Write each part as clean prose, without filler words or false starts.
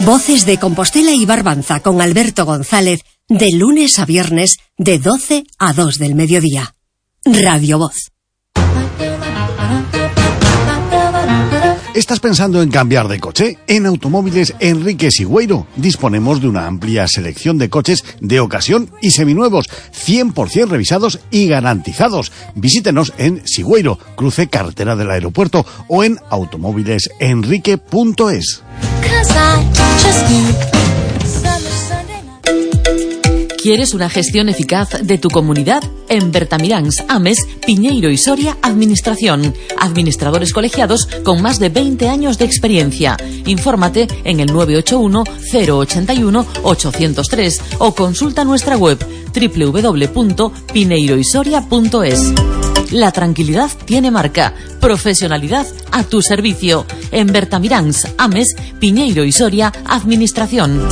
Voces de Compostela y Barbanza con Alberto González, de lunes a viernes, de 12 a 2 del mediodía. Radio Voz. ¿Estás pensando en cambiar de coche? En Automóviles Enrique Sigüeiro disponemos de una amplia selección de coches de ocasión y seminuevos, 100% revisados y garantizados. Visítenos en Sigüeiro, cruce carretera del aeropuerto, o en automóvilesenrique.es. ¿Quieres una gestión eficaz de tu comunidad? En Bertamiráns, Ames, Piñeiro y Soria, Administración. Administradores colegiados con más de 20 años de experiencia. Infórmate en el 981-081-803 o consulta nuestra web www.pineiroysoria.es. La tranquilidad tiene marca. Profesionalidad a tu servicio. En Bertamiráns, Ames, Piñeiro y Soria, Administración.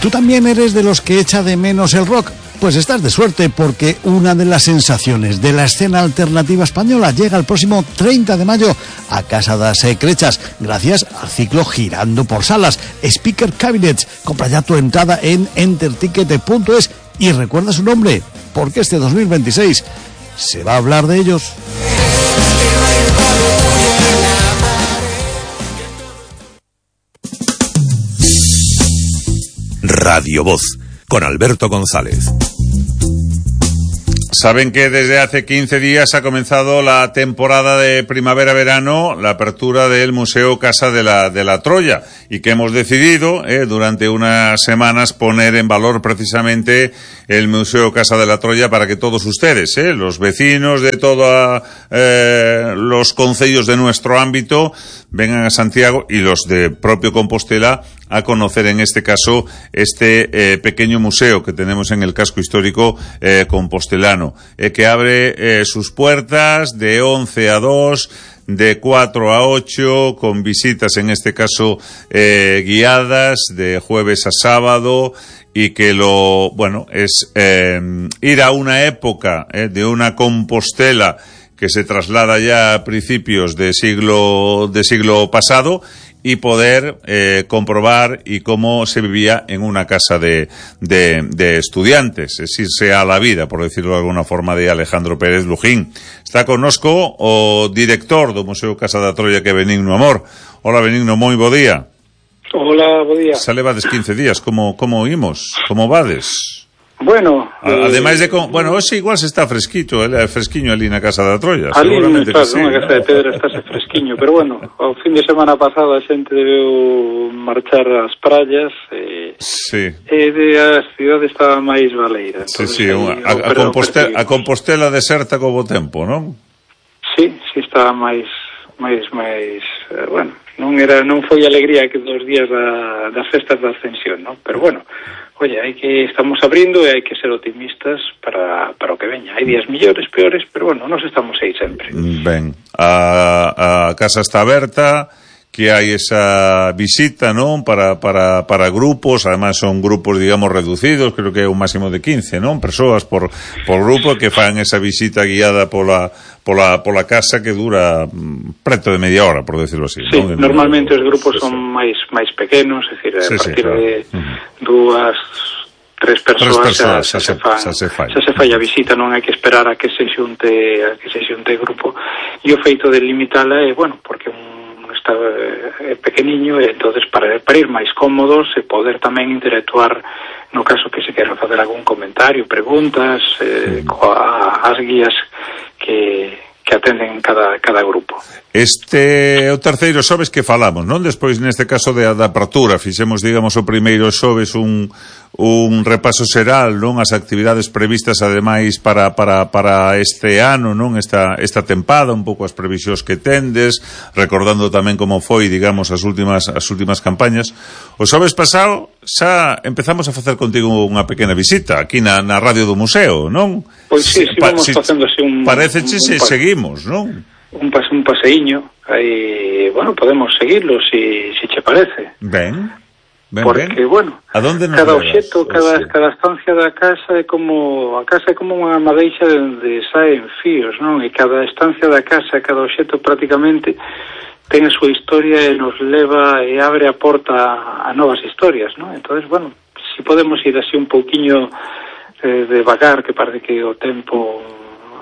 ¿Tú también eres de los que echa de menos el rock? Pues estás de suerte, porque una de las sensaciones de la escena alternativa española llega el próximo 30 de mayo a Casa das Ecrechas, gracias al ciclo Girando por Salas, Speaker Cabinets. Compra ya tu entrada en enterticket.es y recuerda su nombre, porque este 2026 se va a hablar de ellos. Radio Voz, con Alberto González. Saben que desde hace 15 días ha comenzado la temporada de primavera-verano, la apertura del Museo Casa de la Troya, y que hemos decidido durante unas semanas poner en valor precisamente el Museo Casa de la Troya para que todos ustedes, los vecinos de todos los concellos de nuestro ámbito, vengan a Santiago, y los de propio Compostela a conocer en este caso este pequeño museo que tenemos en el casco histórico compostelano, que abre sus puertas de 11 a 2, de 4 a 8, con visitas en este caso guiadas de jueves a sábado, y que es ir a una época de una Compostela que se traslada ya a principios de siglo pasado, y poder comprobar y cómo se vivía en una casa de estudiantes, es irse a la vida, por decirlo de alguna forma, de Alejandro Pérez Lujín. Está connosco o director do Museo Casa da Troya, que é Benigno Amor. Hola, Benigno, moi bo día. Hola, bo día. Xa levades 15 días, como imos? Como vades? Bueno, ademais de hoxe igual se está fresquiño ali na Casa da Troya. Ali Seguramente está, que sí, nunha casa de pedra estáse fresquiño, pero bueno, ao fin de semana pasado a xente debeu marchar ás praias sí. E as cidades estaban máis baleiras. Sí, a Compostela deserta co bo tempo, non? Sí, estaba máis bueno, non foi alegría que 2 días das festas da Ascensión, non? Pero bueno, oye, estamos abrindo e hai que ser optimistas para o que veña. Hai días millores, peores, pero bueno, nos estamos aí sempre. Ben, a casa está aberta, que hai esa visita, non? Para grupos, además son grupos, digamos, reducidos, creo que é un máximo de 15, non? Persoas por grupo que fan esa visita guiada pola casa, que dura preto de media hora, por decirlo así. Sí, ¿no? Normalmente os grupos son máis pequenos, é dicir, a partir claro. De 2-3 persoas xa se fai a visita, non hai que esperar a que se xunte grupo. E o feito de limitala é, bueno, porque está pequeniño, e entonces para ir máis cómodos e poder tamén interactuar no caso que se quera facer algún comentario, preguntas, as guías que atenden cada grupo. Este o terceiro xoves que falamos, non? Despois, neste caso da apertura, fixemos, digamos, o primeiro xoves un repaso xeral, non? As actividades previstas, ademais, para este ano, non? Esta tempada, un pouco as previsións que tendes, recordando tamén como foi, digamos, as últimas campañas. O xoves pasado xa empezamos a facer contigo unha pequena visita aquí na radio do museo, non? Pois sí, vamos facendo así pareceche se seguimos, non? Un paseíño, aí, bueno, podemos seguirlo si che parece. Ben, Porque, bueno, cada obxeto, cada estancia da casa é como unha madeixa de saen fíos, non? E cada estancia da casa, cada obxeto prácticamente ten a súa historia e nos leva e abre a porta a novas historias, non? Entonces, bueno, si podemos ir así un pouquiño devagar, que parece que o tempo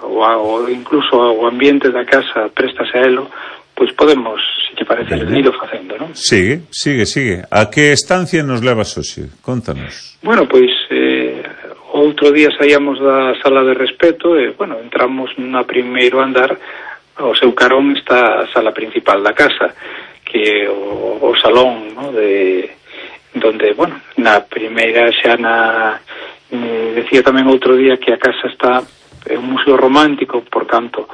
ou incluso o ambiente da casa préstase a elo, pois podemos, se te parece, ir facendo, non? Sigue. A que estancia nos levas hoxe? Contanos. Bueno, pois outro día saíamos da sala de respeto e, bueno, entramos na primeiro andar, ao seu carón está a sala principal da casa, que é o salón, ¿no? Donde, bueno, na primeira xa decía tamén outro día que a casa está un museo romántico, por tanto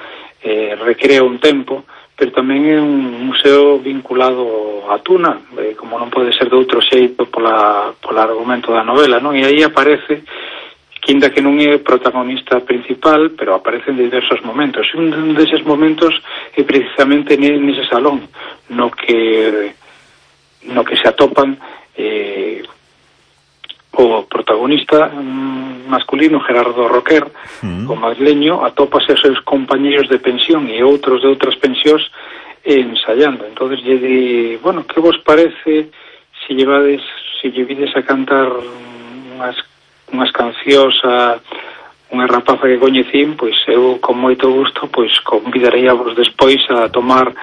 recrea un tempo, pero tamén é un museo vinculado a Tuna, como non pode ser de outro xeito pola argumento da novela, non? E aí aparece, quinda que non é protagonista principal, pero aparece en diversos momentos. Un deses momentos é precisamente nese salón, no que se atopan o protagonista masculino, Gerardo Roquer, o madrileño, atópase aos seus compañeros de pensión e outros de outras pensións ensayando. Entonces lle di, bueno, que vos parece se lle vides a cantar unhas cancións a unha rapaza que coñecín, pois eu con moito gusto pois convidarei a vos despois a tomar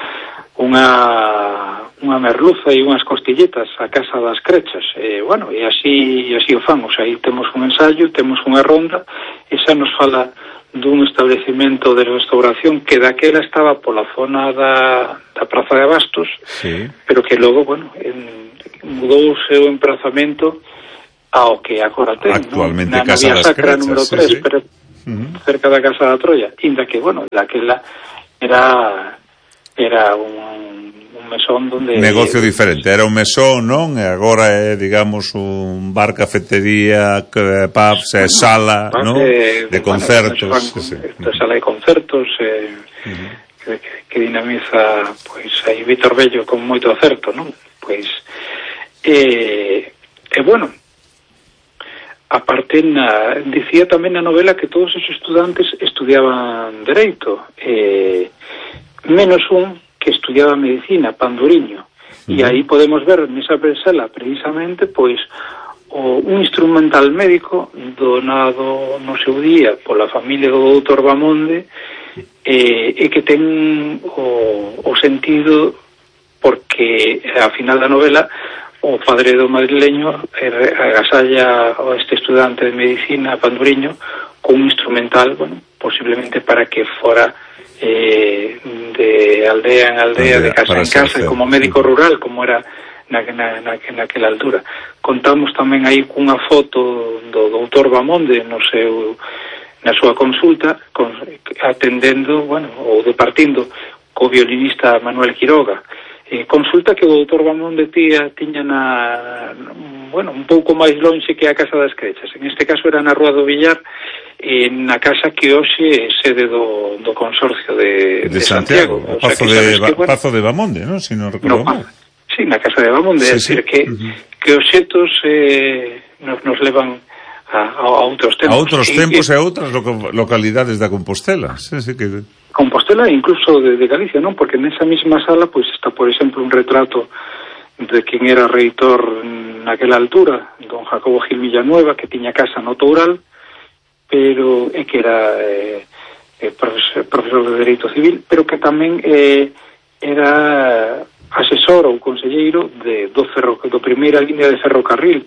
unha merluza e unhas costilletas a casa das Crechas. Bueno, e así o famos. Aí temos un ensayo, temos unha ronda, e xa nos fala dun establecemento de restauración que daquela estaba pola zona da Praza de Abastos, sí, pero que logo, bueno, mudouse o emprazamento ao que agora ten, actualmente, na Casa das Crechas, número 3, sí. Pero cerca da Casa da Troia, inda que, bueno, daquela era un mesón donde... Negocio diferente, era un mesón, non? E agora é, digamos, un bar, cafetería, pubs, sala, non? De concertos. Sala de concertos, que dinamiza, pois, aí Víctor Bello con moito acerto, non? Pois, bueno, aparte, dicía tamén na novela que todos os estudantes estudiaban Dereito, menos un que estudiaba Medicina, Panduriño. E aí podemos ver nesa presela precisamente pois un instrumental médico donado no seu día pola familia do doutor Bamonde, e que ten o sentido porque a final da novela o padre do madrileño agasalla a este estudante de Medicina, Panduriño, con un instrumental, bueno, posiblemente para que fora de aldea en aldea, de casa en casa, como médico rural, como era naquela altura. Contamos tamén aí cunha foto do doutor Bamonde na súa consulta, atendendo, bueno, ou departindo co violinista Manuel Quiroga. Consulta que o doutor Bamonde tiña bueno, un pouco máis lonxe que a Casa das Crechas. En este caso era na Rúa do Villar, na casa que hoxe é sede do Consorcio de Santiago. O Pazo de Bamonde, non? Si non recordo mal. Sí, na Casa de Bamonde. É dicir, que obxetos nos levan a outros tempos. A outros tempos e a outras localidades da Compostela. Sí, que... Compostela e incluso de Galicia, non? Porque nesa mesma sala pois está, por exemplo, un retrato de quen era reitor naquela altura, don Jacobo Gil Villanueva, que tiña casa no Toural, pero que era profesor de Dereito Civil, pero que tamén era asesor ou conselleiro do primeira línea de ferrocarril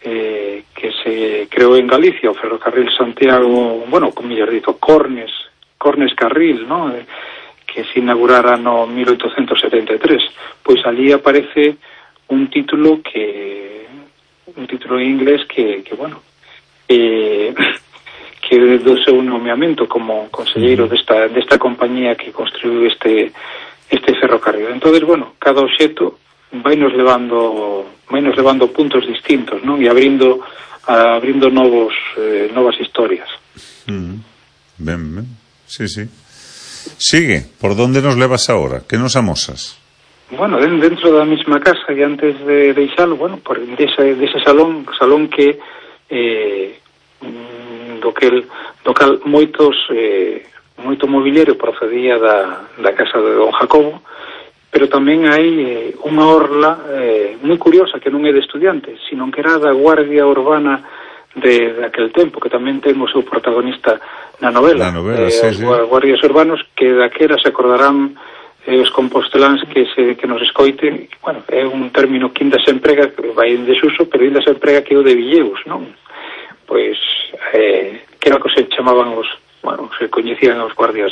que se creou en Galicia, o ferrocarril Santiago, bueno, como mellor dito, Cornes Carril, ¿no? Que se inaugurara no 1873. Pois ali aparece un título en inglés que bueno, que do seu nomeamento como conselleiro desta compañía que construiu este ferrocarril. Entonces, bueno, cada obxeto vai nos levando puntos distintos, non? E abrindo novas historias. Ben. Sí. Sigue, por donde nos levas ahora? Que nos amosas? bueno, dentro da mesma casa, e antes de deixalo, bueno, por dese salón que do cal moito mobiliario procedía da casa de don Jacobo, pero tamén hai unha orla moi curiosa que non é de estudiantes, sino que era da Guardia Urbana de aquel tempo, que tamén ten o seu protagonista na novela, sí. Guardias Urbanos, que daquela se acordarán os composteláns que nos escoiten. Bueno, é un término que ainda se emprega, que vai en desuso, pero ainda se emprega que o de Villeus, non? Pois que era o que se chamaban se coñecían os guardias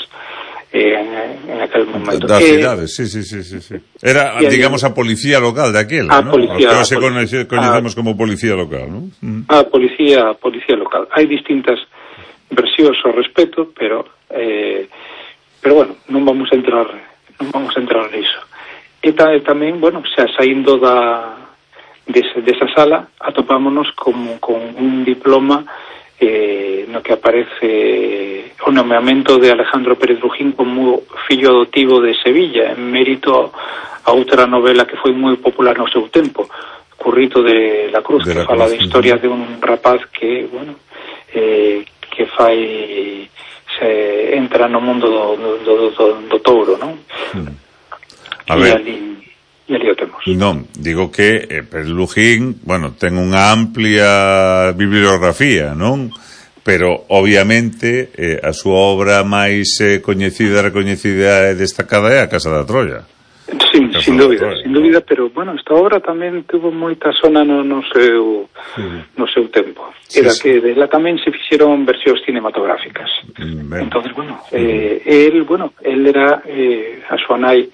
en aquel momento. Das cidades, sí. Era, digamos, a policía local daquela, ¿no? Policía, o que hoxe coñecemos como policía local, ¿no? A policía local. Hai distintas versións ao respecto, pero bueno, non vamos a entrar niso. E tamén, bueno, xa saindo desa sala, atopámonos con un diploma no que aparece o nomeamento de Alejandro Pérez Brujín como fillo adoptivo de Sevilla, en mérito a outra novela que foi moi popular no seu tempo, Currito de la Cruz, que fala da historia de un rapaz que, bueno, que se entra no mundo do touro, non? A ver, e ali o temos. Non, digo que Pérez Lujín, bueno, ten unha amplia bibliografía, non? Pero, obviamente, a súa obra máis coñecida, recoñecida e destacada é A Casa da Troia. Sí, sin dúbida, pero, bueno, esta obra tamén tuvo moita sona no seu tempo. Era que dela tamén se fixeron versións cinematográficas. Entonces, bueno, él era, a súa nai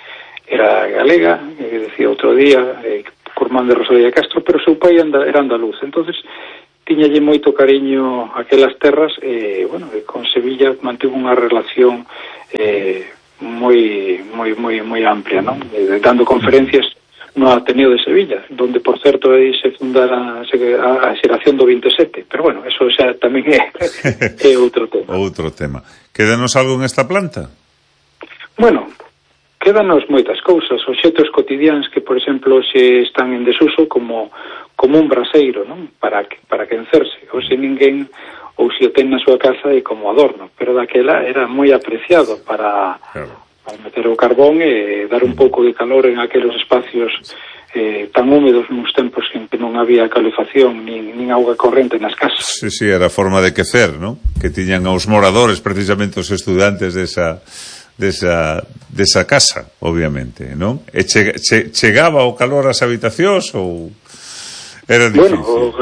era galega, decía outro día, Curmán de Rosalía de Castro, pero seu pai era andaluz. Entonces, tiñalle moito cariño aquelas terras, bueno, con Sevilla mantivo unha relación moi amplia, non? Dando conferencias no Ateneo de Sevilla, donde, por certo, aí se fundara a xeración do 27. Pero, bueno, eso xa tamén é outro tema. Outro tema. Quédanos algo en esta planta? Bueno, quédanos moitas cousas, obxectos cotidianos que, por exemplo, se están en desuso como un braseiro, non? Para quencerse. Ou se ninguén ou se o ten na súa casa e como adorno, pero daquela era moi apreciado para meter o carbón e dar un pouco de calor en aqueles espacios tan húmedos nos tempos en que non había calefacción nin auga corrente nas casas. Sí, era a forma de quecer, non? Que tiñan os moradores, precisamente os estudantes desa casa, obviamente, non? E chegaba o calor ás habitacións ou era difícil? Bueno,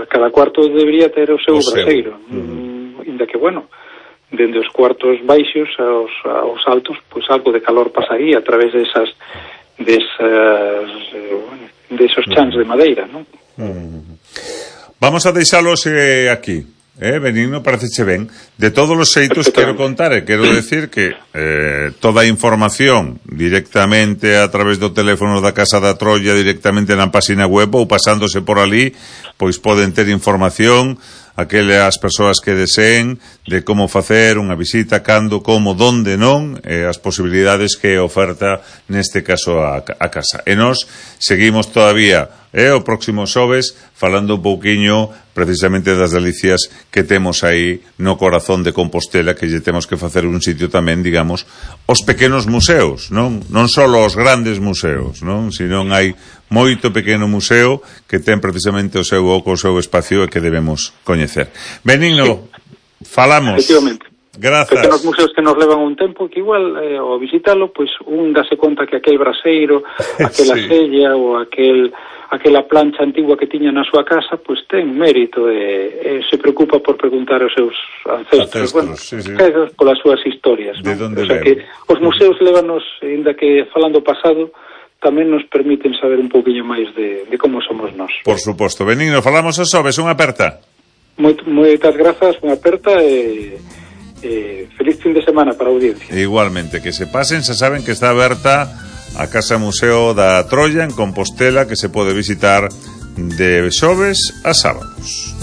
cada cuarto debería ter o seu braseiro, inda que, bueno, dende os cuartos baixos aos altos, pois algo de calor pasaría a través desos chans de madeira, non? Vamos a deixalos aquí. Benigno, pareceche ben. De todos os xeitos quero contar quero decir que toda a información directamente a través do teléfono da Casa da Troia, directamente na página web ou pasándose por ali, pois poden ter información aquelas persoas que deseen de como facer unha visita, cando, como, donde, non, as posibilidades que oferta neste caso a casa. E nós seguimos todavía o próximo xoves falando un pouquiño precisamente das delicias que temos aí no corazón de Compostela, que lle temos que facer un sitio tamén, digamos, os pequenos museos, non só os grandes museos, non, senón hai moito pequeno museo que ten precisamente o seu oco, o seu espacio e que debemos coñecer. Benigno, falamos. Efectivamente. Grazas. Pequenos museos que nos levan un tempo, que igual ao visitalo, pois un dase conta que aquel braseiro, aquela sella ou aquela plancha antigua que tiña na súa casa, pois ten mérito e se preocupa por preguntar aos seus ancestros, bueno, polas súas historias, de non? onde O sea que os museos levanos, ainda que falando pasado, tamén nos permiten saber un pouquiño máis de como somos nós. Por suposto. Benigno, falamos a xoves, unha aperta. Moitas grazas, unha aperta e feliz fin de semana para a audiencia. Igualmente, que se pasen, se saben que está aberta a Casa Museo da Troia en Compostela, que se pode visitar de xoves a sábados.